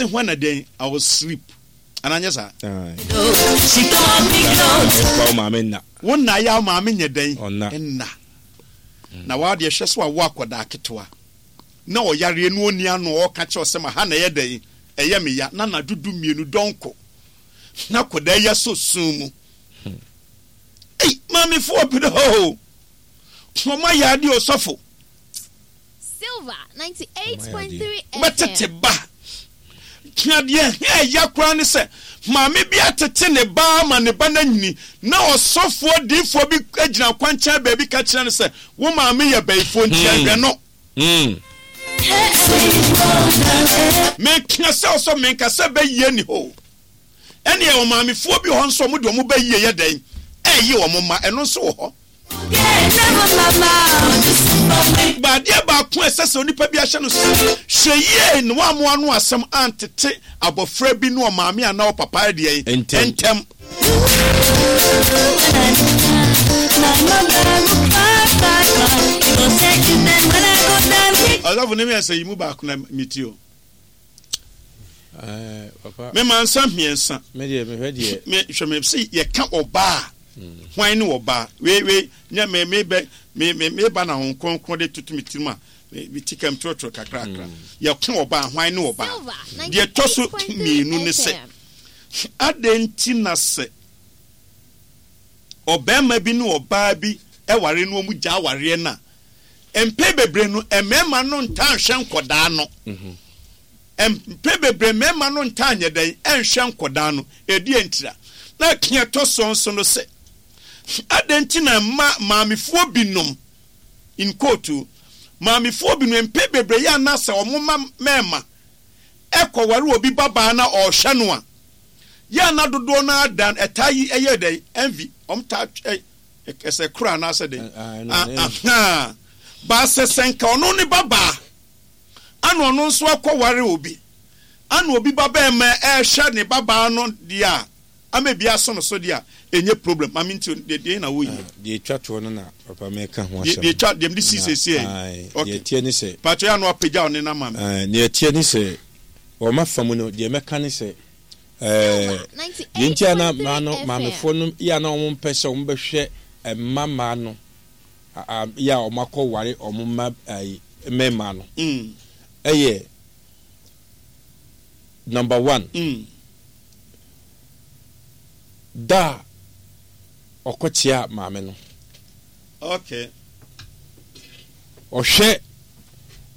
Ɔse when na dɛn I will sleep. Anaa nyɛ saa? Fa wo maame nna. Wo nna yɛ a wo maame nyɛ dɛn? Ɔnna. Nna. Na waa deɛ hwɛ sɛ wawo akwadaa ketewa na ɔyareɛ na ɔnni ano a ɔreka kyerɛ wo sɛ ma ha na ɛyɛ dɛn? Ɛyɛ me ya. Na anadwo du mmienu dɔnko na akwadaa yi asɔ sum mu. Ei, maamefoɔ brɛ o. Wɔn ayɛ adeɛ osɔfo. Silver 98.3 FM. Wobɛtete ba. Na deɛ ɛya koraa ne sɛ, maame bi atete ne ba ama ne ba no anyini, na ɔsɔfoɔ diifoɔ bi gyina kwankyɛn baabi ka kyerɛ no sɛ, wo maame yɛ bayifoɔ nti ɛhwɛ no. Meka sɛ ɔsɔ menka sɛ bɛyie ni hɔ. Ɛneɛ ɔmaamefoɔ bi wɔ hɔ nso ɔmo de ɔmo bɛyie yɛ dɛn? Ɛɛye ɔmo mma, ɛno nso wɔ hɔ. Adeɛ baako a ɛsɛ sɛ onipa bi ahyɛ no sɛ, hwɛ yie na woammoa ano asɛm antete abɔfra bi ne ɔmaame anaa ɔpapa deɛn ntɛm. Ɔsɔfo ne mmiɛnsa yi mu baako na metie o. Me mansa mmiɛnsa. Me deɛ mehwɛ deɛ. Me hwɛ me se yɛka ɔbaa. Hwan ne ɔbaa? Wei wei nyɛ me me bɛ me me me ba na ho kronkron de toto me tirim a me me ti kam torotoro kakrakra. Yɛka ɔbaa hwan ne ɔbaa? Deɛ ɛtɔ so mmienu ne sɛ adɛn nti na sɛ ɔbarima bi ne ɔbaa bi ware na wɔn gya awareɛ no a mpɛn bebree no mmarima no ntaa nhwɛ nkɔdaa no. Mpɛn bebree mmarima no ntaa nyɛ dɛn nhwɛ nkwadaa no. Ɛdeɛn ntira? Na deɛ ɛtɔ soɔ nso no sɛ, adɛn nti na mma maamefoɔ binom, in quote, maamefoɔ binom mpɛn bebree yɛ ana sɛ wɔn mma mmarima ɛkɔware obi babaa na ɔrehwɛ no a, yɛ ana dodoɔ no ara dan ɛtaa yi ɛyɛ dɛn envy, wɔn taa ɛ ɛsɛ koro anaasɛ dɛn? Ahaa, baasɛ sɛ nka ɔno ne babaa Ana ɔno nso akɔware obi? Ana obi babarima rehwɛ ne babaa no deɛ a, ama ebi aso no so deɛ a, ɛnyɛ problem. Maame nti deɛ deɛ na woyɛ. Ah, deɛ etwa toɔ no na papa mɛka ho asɛm. Deɛ etwa deɛ mede si siesie yi. Ae, deɛ ɛteɛ ne sɛ. Paatwa yɛ ano apagya ɔne na ma me. Ae, deɛ ɛteɛ ne sɛ, wɔ m'afa mu no, deɛ mɛka ne sɛ, ɛɛ, deɛ nti a na mmaa no, maamefoɔ no yɛ a na wɔn mpɛ sɛ wɔn bɛhwɛ mma mmaa no. yɛ a wɔakɔware wɔn mma mmarima no yɛ number one, da a ɔkɔkyea maame no. Okay. Ɔhwɛ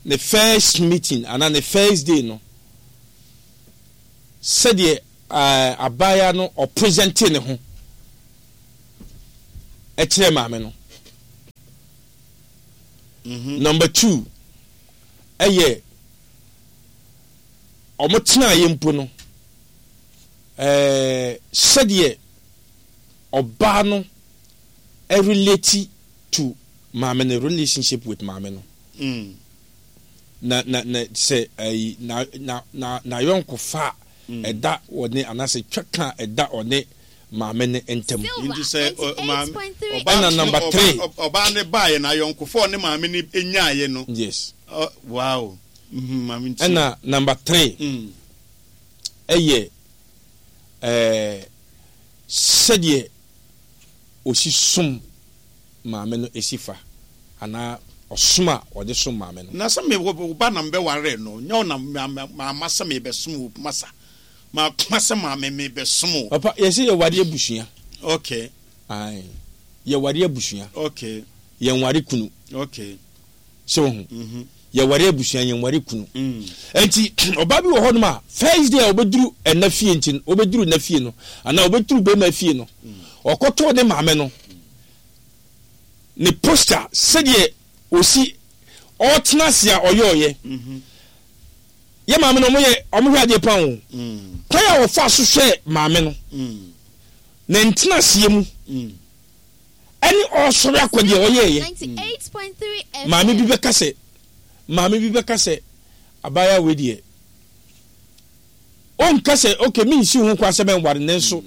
ne first meeting anaa ne first day no sɛdeɛ abaayewa no ɔpresente ne ho. kyerɛ maame no. Mhm. Number two ɛyɛ wɔn tenaeɛ mpo no ɛɛ sɛdeɛ ɔbaa no relate to maame no relationship with maame no. Mm. Na na na sɛ ɛyi na na na n'ayɔnkofa a mm. ɛda ɔne anaasɛ twaka a ɛda ɔne maame no ntam. Nti sɛ maame ɔbaa ɛna number 3 ɔbaa ne baayɛ na ayɔnkofa ɔne maame no nyaayɛ no. Yes. Uh, wow. Mm-hmm, maame nti. Ɛna number 3 mm. ɛyɛ ɛɛ sɛdeɛ osi som maame no esi fa anaa ɔsom a ɔde som maame no. Na sɛ me wo ba na mbɛware no nyɛ wo na maama sɛ mebɛsom wo masa. Makoma sɛ maame mebɛsom wo. Papa yɛse yɛware abusua. Okay. Ae yɛware abusua. Okay. Yɛnware kunu. Okay. Sɛ wohu. Mm -hmm. Yɛware abusua yɛnware kunu. Mm. Nti ɔbaa bi wɔ hɔnom a first day a ɔbɛduru ɛna fie nti ɔbɛduru na fie no anaa ɔbɛduru bɛrima fie no mm. ɔkɔtoo ne maame no ne posture sɛdeɛ ɔsi ɔtena ase a ɔyɔɔyɛ. Mm -hmm. Yɛ maame no ɔmo yɛ ɔmo hwɛ adeɛ paa o. Kwan a wɔfaa so hwɛɛ maame no, ne ntenaseɛ mu, ɛne ɔresɔre akɔ deɛ ɔyɛɛyɛ. Maame bi bɛka sɛ, maame bi bɛka sɛ, abaayewa wei deɛ, ɔnka sɛ okay mensi ho kwan sɛ mɛnware nanso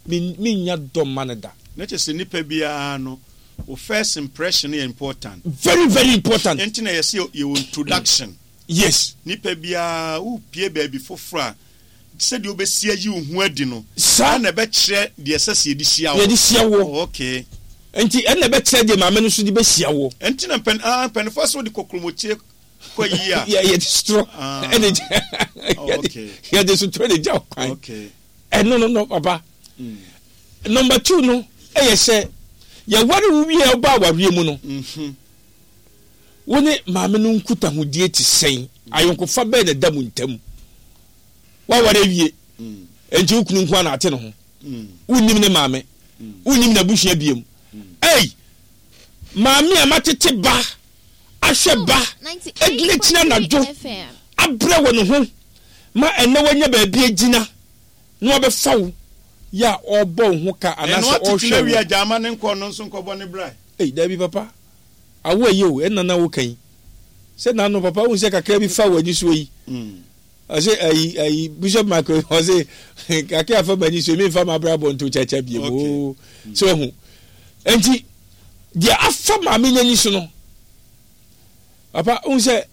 mennya dɔ mma no da. Na kyerɛ sɛ nipa biara no, wo first impression yɛ important. Very very important. Ɛnti na yɛse yɛwɔ introduction. Yes. Nipa biara wopie baabi foforɔ a, sɛdeɛ wobɛsi ayi wo ho adi no, Saa. ɛna ɛbɛkyerɛ deɛ ɛsɛ sɛ yɛde hyia wo. Yɛde hyia woɔ. Oh, okay. Nti ɛna ɛbɛkyerɛ deɛ maame no nso de bɛhyia woɔ. Ɛnti na mpɛn, ah, mpanimfoɔ sɛ wode kokromokye kɔ yie a. Yɛ, yɛde sotorɔ Ah. ɛna gya, Oh, yɛde, okay. yɛde sotorɔ na gya wo kwan. Okay. Ɛno no no, papa. Number two no ɛyɛ sɛ yɛware wo wie a woba awareɛ mu no, wo ne maame no nkutahodie te sɛn? Ayɔnkofa bɛn na ɛda mo ntam? Woaware awie, enti wo kunu nko ara na ate ne ho. Wonnim ne maame, wonnim n'abusua biom. Ei, maame a matete ba, ahwɛ ba, agyina akyiri anadwo, abrɛ wɔ ne ho ma ɛnnɛ wanya baabi agyina na wabɛfa wo yɛ a ɔrebɔ wo ho ka Ɛno anaasɛ atete no ɔrehwɛ awie wo. a, gyaa ma ne nkɔ, ɔno nso nkɔbɔ ne bra. Ei, dabi papa, awo ɛyɛ o, ɛnna na woka yi. Sɛ n'ano papa, wohu sɛ kakra bi fa w'ani soɔ yi. Ɔse ayi ayi Bishop Michael ɔse kakra afa m'ani so memfa m'abrabɔ nto kyakya biem oo. So wahu. Enti deɛ afa maame n'ani so no, papa wohu sɛ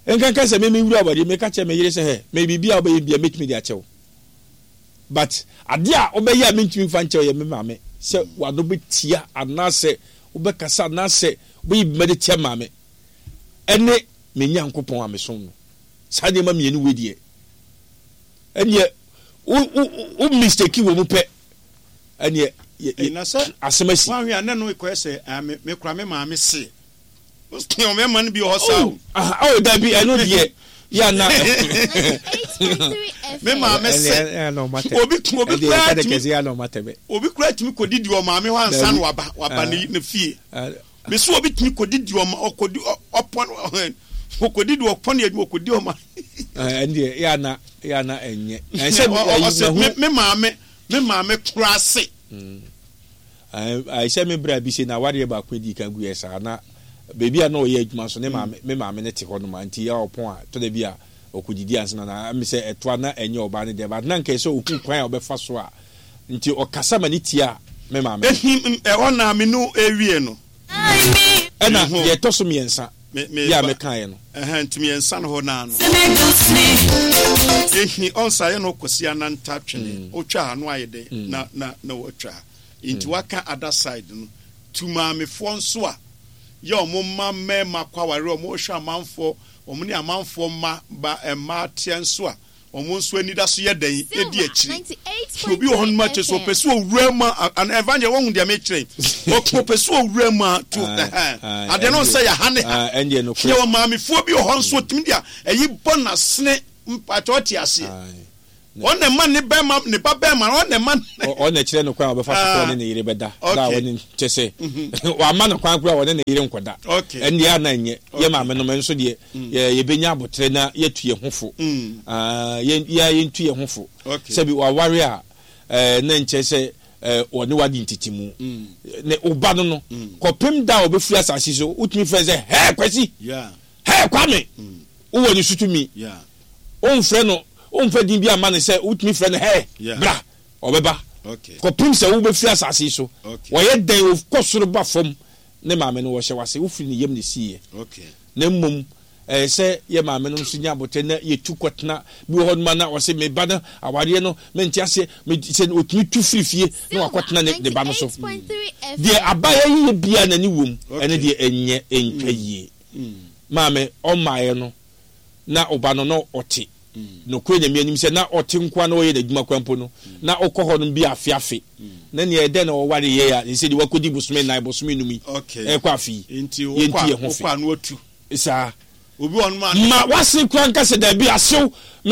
nkanka sɛ me mewura awadeɛ meka kyerɛ me yere sɛ hɛ me biribi a wobɛyɛ bia mɛtumi de akyɛ wo. But adeɛ a wobɛyɛ a mentumi mfa nkyɛ wo yɛ me maame sɛ w'ano bɛtia anaasɛ wobɛkasa anaasɛ wobɛyɛ biribi de tia maame ɛne me Nyankopɔn a mesom no. Saa nneɛma mmienu wei deɛ, ɛnneɛ wo wo wo mistake wɔ mu pɛ, ɛnneɛ yɛ yɛ Na sɛ asɛm asi. woanhwɛ a na ɛno kɔyɛ sɛ ah, me me kora me maame se. Ɔmɛma no bi wɔ hɔ saa Oh, o. aha, oh, dabi, ɛno deɛ, yɛ ana. Me maame se obi obi koraa tumi obi koraa tumi kɔdidi wɔ maame hɔ ansa na waba waba ne ne fie. Mesi obi tumi kɔdidi ɔma ɔkɔdi ɔpɔn ɔkɔdidi ɔpɔn yɛ adwuma ɔkɔdi ɔma. Ɛndeɛ yɛ ana yɛ ana ɛnyɛ. Ɛsɛ ɔsɛ me maame me maame koraa se. Sɛ me bra bi se na awadeɛ baako edi kan gu yɛ saa na beebi a na ɔyɛ adwuma nso ne maame me maame ne te hɔ nom nti yɛ ɔpɔn a tɔ da bi a ɔkɔdidi ansa na na ɛmi sɛ ɛtoa na ɛnyɛ ɔbaa ne deɛ but na nka ɛsɛ ohu kwan a ɔbɛfa so a nti ɔkasa ma ne tia me maame no. Ehi ɛhɔ na me no ewie no. Ɛna deɛ ɛtɔ so mmiɛnsa yɛ a mekaeɛ no. Ɛhɛn nti mmiɛnsa no hɔ naa no. Ehi ɔnsa yɛ no kɔsi ananta twene otwa ha no ayɛ dɛ na na na watwa ha nti waka other side no tu maamefoɔ nso a yɛ ɔmo mma mmarima kɔ aware ɔmo hwɛ amanfoɔ ɔmo ne amanfoɔ mma ba mmaa teɛ nso a Wɔn nso anidaso yɛ dɛn? Edi akyiri. Obi wɔ hɔnom a kyerɛ sɛ ɔpɛ sɛ owura mu a, ana evangel wɔn deɛ mekyerɛ yi. Ɔpɛ sɛ owura mu a to ɛhɛn. Adeɛ no sɛ yɛ ha ne ha. Yɛ wɔ maamefoɔ bi wɔ hɔ nso otumi de a ɛyi bɔ n'asene mpakyɛ ɔte aseɛ. Wɔn na ɛma ne bɛrima ne ba bɛrima wɔn na ɛma. Wɔn na ɛkyerɛ no kwan a ɔbɛfa so kora ɔne ne yere bɛda. Da a ɔne kyɛ sɛ wama no kwan kora ɔne ne yere nkɔda. Ɛndeɛ ana nyɛ yɛ maame nom nso deɛ. Yɛ yɛbɛnya aboterɛ na yɛatu yɛn ho fo. Ah, yɛn, yɛn ara yɛntu yɛn ho fo. Sɛbi waware a, eh, na nkyerɛ sɛ, eh, ɔne wadi ntetemu. Ne wo ba no no, kɔpem da a ɔbɛfiri asase so, wotumi frɛ no sɛ, Hɛɛ Kwasi! Hɛɛ Kwame! Wowɔ ne so tumi. Womfrɛ no, womfa din bi amma no sɛ wotumi frɛ no Hɛɛ, bra! Ɔbɛba. Kɔpem sɛ wobɛfiri asase yi so. Ɔyɛ dɛn, ɔkɔ soro ba fam, ne maame no, wɔhyɛ wo ase, wofiri ne yam na ɛsiiɛ. Na mmom ɛyɛ sɛ yɛ maamenom nso nya aboterɛ na yɛtu kɔtena. Bi wɔ hɔnom a na ɔse me ba no awareɛ no mente aseɛ, me sɛ ɔtumi tu firi fie na wakɔtena ne ne ba no so. Deɛ abaeɛ yiyɛ biara n'ani wom, ɛno deɛ ɛnyɛ ɛntwa yie. Maame ɔmmaeɛ no na ɔba no na ɔte nokorɛ Nyame anim sɛ na ɔte nkoa na ɔyɛ n'adwuma koraa mpo no na ɔkɔ hɔ nom bi afe afe na nea ɛdɛn na ɔware yɛ a sɛ deɛ wakɔdi bosome nnan bosome num yi ɛkɔ afe yi yɛntu yɛ ho fe saa ma wase koraa nka sɛ daabi asew me.